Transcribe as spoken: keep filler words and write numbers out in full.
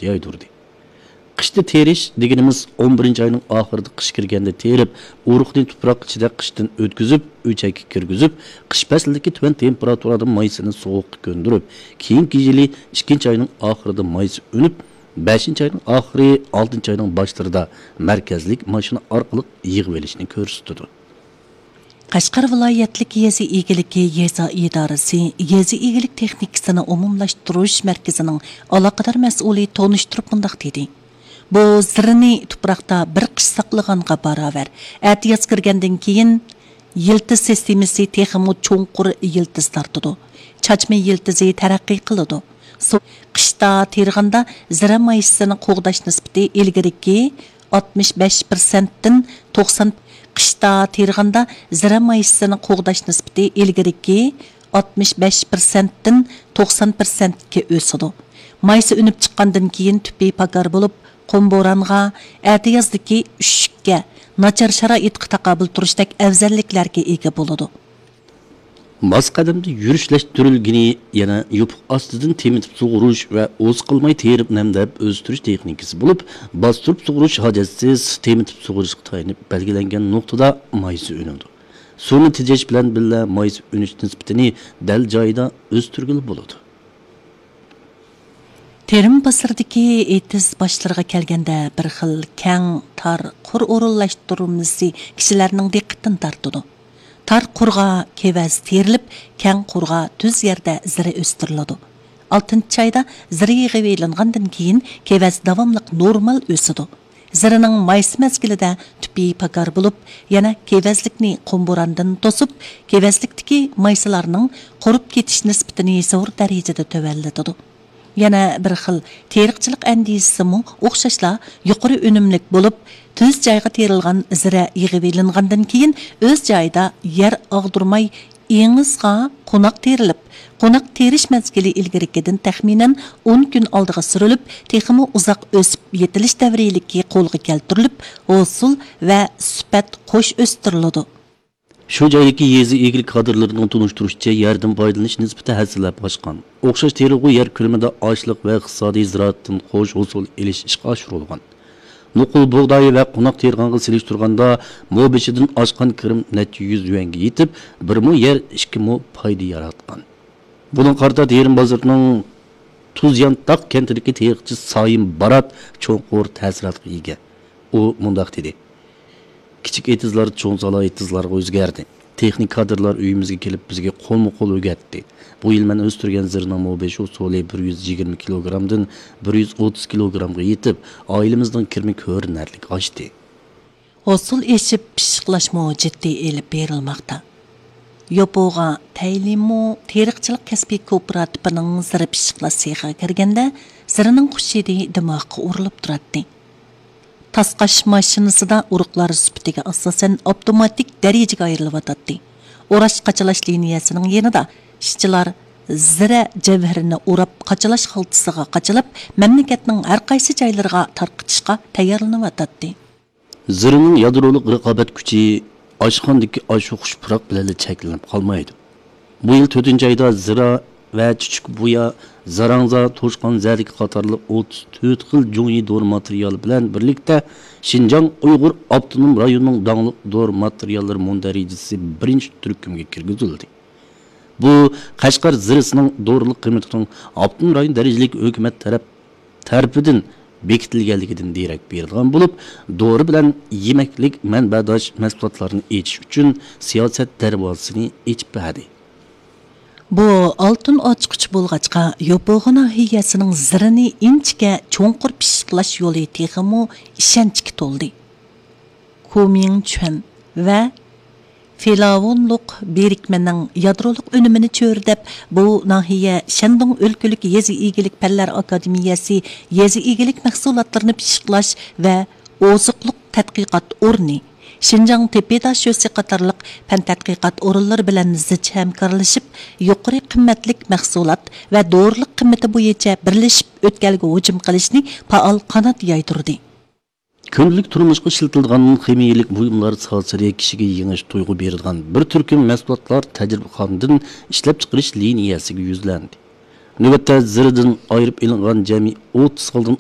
يايدۇردى. قىشتا تېرىش دېگىنىمىز ئون بىرىنچى ئاينىڭ ئاخىرىدا قىش كىرگەندە تېرىپ، ئۇرۇقنى تۇپراق ئىچىدە قىشتىن ئۆتكۈزۈپ، ئۆچەككە كىرگۈزۈپ، قىش پەسلىدىكى تۆۋەن تېمپېراتۇرادىن مايسىنى سوغۇققا كۆندۈرۈپ، كېيىنكى يىلى ئىككىنچى ئاينىڭ ئاخىرىدا مايسا ئۈنۈپ، بەشىنچى ئاينىڭ ئاخىرى، ئالتىنچى ئاينىڭ باشلىرىدا مەركەزلىك ماشىنا ئارقىلىق يىغىۋېلىشنى كۆرسىتىدۇ. قەشقەر ۋىلايەتلىك يېزا ئىگىلىكى يېزا ئىدارىسى يېزا ئىگىلىك تېخنىكىسىنى ئومۇملاشتۇرۇش مەركىزىنىڭ ئالاقىدار مەسئۇلى تونۇشتۇرۇپ مۇنداق دېدى: بۇ زىرىنى تۇپراقتا بىر قىش ساقلىغانغا باراۋەر. ئەتىياز كىرگەندىن كېيىن يىلتىز سىستېمىسى تېخىمۇ چوڭقۇر يىلتىز تارتىدۇ. چاچما يىلتىزى تەرەققىي قىلىدۇ. سو-، قىشتا تېرىغاندا زىرە مايسىسىنى قوغداش نىسبىتى ئىلگىرىكى ئاتمىش بەش پىرسەنتتىن توقسان، قىشتا تېرىغاندا زىرە مايسىسىنى قوغداش نىسبىتى ئىلگىرىكى ئاتمىش بەش پىرسەنتتىن توقسان پىرسەنتكە ئۆسىدۇ. مايسا ئۈنۈپ چىققاندىن كېيىن تۈپى پاكار بولۇپ، قۇم بورانغا، ئەتىيازدىكى ئۈششۈككە، ناچار شارائىتقا تاقابىل تۇرۇشتەك ئەۋزەللىكلەرگە ئىگە بولىدۇ. ماس قەدەمدە يۈرۈشلەشتۈرۈلگىنى يەنە يوپۇق ئاستىدىن تېمىتىپ سۇغۇرۇش ۋە ئوزۇقلىماي تېرىپ نەمدەپ ئۆستۈرۈش تېخنىكىسى بولۇپ، باستۇرۇپ سۇغۇرۇش ھاجەتسىز تېمىتىپ سۇغۇرۇشقا تايىنىپ بەلگىلەنگەن نۇقتىدا مايسا ئۈنىدۇ. سۇنى تېجەش بىلەن بىللە مايسا ئۈنۈش نىسبىتىنى دەل جايىدا ئۆستۈرگىلى بولىدۇ. تېرىم بازىرىدىكى ئېتىز باشلىرىغا كەلگەندە، بىر خىل كەڭ، تار، قۇر ئورۇنلاشتۇرمىسى كىشىلەرنىڭ دىققىتىنى تارتىدۇ. تار قۇرغا كېۋەز تېرىلىپ، كەڭ قۇرغا تۈز يەردە زىرە ئۆستۈرۈلىدۇ. ئالتىنچى ئايدا زىرە يىغىۋېلىنغاندىن كېيىن، كېۋەز داۋاملىق نورمال ئۆسىدۇ. زىرىنىڭ مايسا مەزگىلىدە تۈپى پاكار بولۇپ، يەنە كېۋەزلىكنى قۇم بوراندىن توسۇپ، كېۋەزلىكتىكى مايسىلارنىڭ قۇرۇپ كېتىش نىسبىتىنى زور دەرىجىدە تۆۋەنلىتىدۇ. يەنە بىر خىل تېرىقچىلىق ئەندىزىسىمۇ ئوخشاشلا يۇقىرى ئۈنۈملۈك بولۇپ، تۈز جايغا تېرىلغان زىرە يىغىۋېلىنغاندىن كېيىن، ئۆز جايىدا يەر ئاغدۇرماي، ئېڭىزغا قوناق تېرىلىپ، قوناق تېرىش مەزگىلى ئىلگىرىكىدىن تەخمىنەن ئون كۈن ئالدىغا سۈرۈلۈپ، تېخىمۇ ئۇزاق ئۆسۈپ يېتىلىش دەۋرىيلىكى قولغا كەلتۈرۈلۈپ، ھوسۇل ۋە سۈپەت قوش ئۆستۈرۈلىدۇ. شۇ جايدىكى يېزا ئىگىلىك كادىرلىرىنىڭ تونۇشتۇرۇشىچە، يەردىن پايدىلىنىش نىسبىتى ھەسسىلەپ ئاشقان. ئوخشاش تېرىلغۇ يەر كۆلىمىدە ئاشلىق ۋە ئىقتىسادىي زىرائەتتىن قوش ھوسۇل ئېلىش ئىشقا ئاشۇرۇلغان. نوقۇل بۇغداي ۋە قوناق تېرىغانغا سېلىشتۇرغاندا، مو بېشىدىن ئاشقان كىرىم نەچچە يۈز يۈەنگە يېتىپ، بىر مو يەر ئىككى مو پايدا ياراتقان. بۇنىڭغا قارىتا تېرىم بازىرىنىڭ تۇز يانتاق كەنتىدىكى تېرىقچى سايىم بارات چوڭقۇر تەسىراتقا ئىگە. ئۇ مۇنداق دېدى: كىچىك ئېتىزلار چوڭ سالا ئېتىزلارغا ئۆزگەردى. تېخنىك كادىرلار ئۆيىمىزگە كېلىپ، بىزگە قولمۇ قول ئۆگەتتى. بۇ يىل مەن ئۆستۈرگەن زىرىنىڭ مو بېشى ھوسۇلى بىر يۈز يىگىرمە كىلوگرامدىن بىر يۈز ئوتتۇز كىلوگرامغا يېتىپ، ئائىلىمىزنىڭ كىرىمى كۆرۈنەرلىك ئاشتى. ھوسۇل ئېشىپ، پىششىقلاشمۇ جىددىي ئېلىپ بېرىلماقتا. يوپۇغا تەيلىمۇ تېرىقچىلىق كەسپىي كوپىراتىپىنىڭ زىرە پىششىقلاش سېخىغا كىرگەندە، زىرىنىڭ خۇش ھىدى دىماغقا ئۇرۇلۇپ تۇراتتى. تاسقاش ماشىنىسىدا ئۇرۇقلار سۈپىتىگە ئاساسەن ئاپتوماتىك دەرىجىگە ئايرىلىۋاتاتتى. ئوراش قاچىلاش لىنىيەسىنىڭ يېنىدا ئىشچىلار زىرە جەۋھىرىنى ئوراپ، قاچىلاش خالتىسىغا قاچىلاپ، مەملىكەتنىڭ ھەر قايسى جايلىرىغا تارقىتىشقا تەييارلىنىۋاتاتتى. زىرىنىڭ يادرولۇق رىقابەت كۈچى ئاشخانىدىكى ئاشۇ خۇش پۇراق بىلەنلا چەكلىنىپ قالمايدۇ. بۇ يىل تۆتىنچى ئايدا زىرا ۋە چۈچۈك بۇيا، زاراڭزا، توشقان زەدىكى قاتارلىق ئوتتۇز تۆت خىل جۇڭيى دورا ماتېرىيالى بىلەن بىرلىكتە، شىنجاڭ ئۇيغۇر ئاپتونوم رايونىنىڭ داڭلىق دورا ماتېرىياللىرى مۇندەرىجىسى بىرىنچى تۈركۈمگە كىرگۈزۈلدى. بۇ، قەشقەر زىرىسىنىڭ دورىلىق قىممىتىنىڭ ئاپتونوم رايون دەرىجىلىك ھۆكۈمەت تەرەپ تەرىپىدىن بېكىتىلگەنلىكىدىن دېرەك بېرىدىغان بولۇپ، دورا بىلەن يېمەكلىك مەنبەداش مەھسۇلاتلارنى ئېچىش ئۈچۈن سىياسەت دەرۋازىسىنى ئېچىپ بەردى. بۇ ئالتۇن ئاچقۇچ بولغاچقا، يوپۇغا ناھىيەسىنىڭ زىرىنى ئىنچىكە چوڭقۇر پىششىقلاش يولى تېخىمۇ ئىشەنچكە تولدى. كومىڭچۈەن ۋە فىلاۋونلۇق بىرىكمىنىڭ يادرولۇق ئۈنۈمىنى چۆرىدەپ، بۇ ناھىيە شەندۇڭ ئۆلكىلىك يېزا ئىگىلىك پەنلەر ئاكادېمىيەسى يېزا ئىگىلىك مەھسۇلاتلىرىنى پىششىقلاش ۋە ئوزۇقلۇق تەتقىقات ئورنى، شىنجاڭ تېپى داشۆسى قاتارلىق پەن تەتقىقات ئورۇنلىرى بىلەن زىچ ھەمكارلىشىپ، يۇقىرى قىممەتلىك مەھسۇلات ۋە دورىلىق قىممىتى بويىچە بىرلىشىپ ئۆتكەلگە ھۇجۇم قىلىشنى پائال قانات يايدۇردى. كۈندىلىك تۇرمۇشقا ئىشلىتىلىدىغان خىمىيەلىك بۇيۇملار ساتىشى كىشىگە يېڭىچە تۇيغۇ بېرىدىغان بىر تۈركۈم مەھسۇلاتلار تەجرىبىخانىدىن ئىشلەپچىقىرىش لىنىيەسىگە يۈزلەندى. نۆۋەتتە زىرىدىن ئايرىپ ئېلىنغان جەمئىي ئوتتۇز خىلدىن